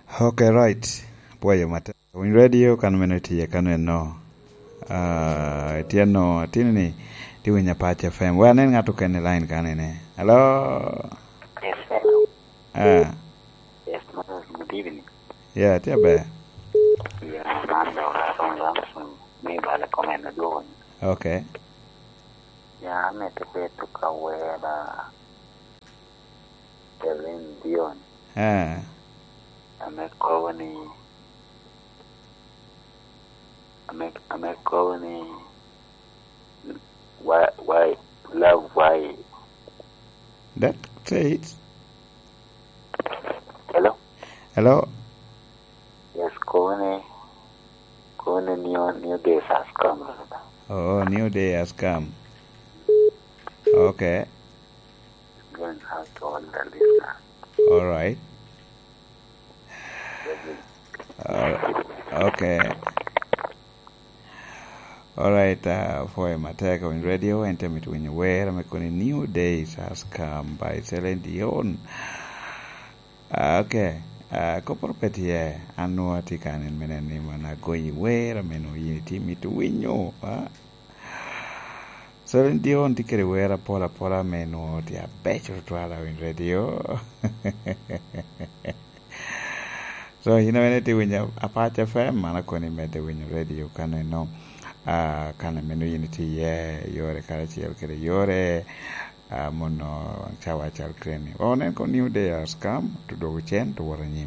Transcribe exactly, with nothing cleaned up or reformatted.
Ok, right. Pwoyo matek. Winy radio kan mene tye kan eno. Ah, tye no, atini ni, ti winyo Apac F M. Wek anen ŋat okene i line kan ene. Hello? Yes, hello. Ah. Yes, Moses, good evening. Yeah, tye aber. Yeah, man dog aromo lam, me bala comment adwogo ni. Okay. Ya, amito bedo ka wera Celine Dion. Eh. Ame kobo ni, ame, ame kobo ni, why, why, love, why? That say it. Hello? Hello? Yes, kobo ni, kobo ni new, new days has come. Oh, new day has come. Okay. Going out to all the listeners. All right. Uh, okay. All right, uh, for my take on radio, and tell me to win where I'm going, new days has come by Celine Dion. Ah, okay. Ah, koporo pe tye, an nwoŋo atye kan en mene ni man agoyi wer, ame nwoŋo yin itye mito winyo, ah? Celine Dion tye kede wer apol apola ame nwoŋo tye abeco tutwal, awinyo radio. So, yin amene tye winyo Apac F M, an akoni medde winyo radio kan eno, ah, kan ameno yin itye iye, yore karacel kede yore, ah, mono cawa cal keni. Onen ko new day has come, to dwogo cen, to wot anyim.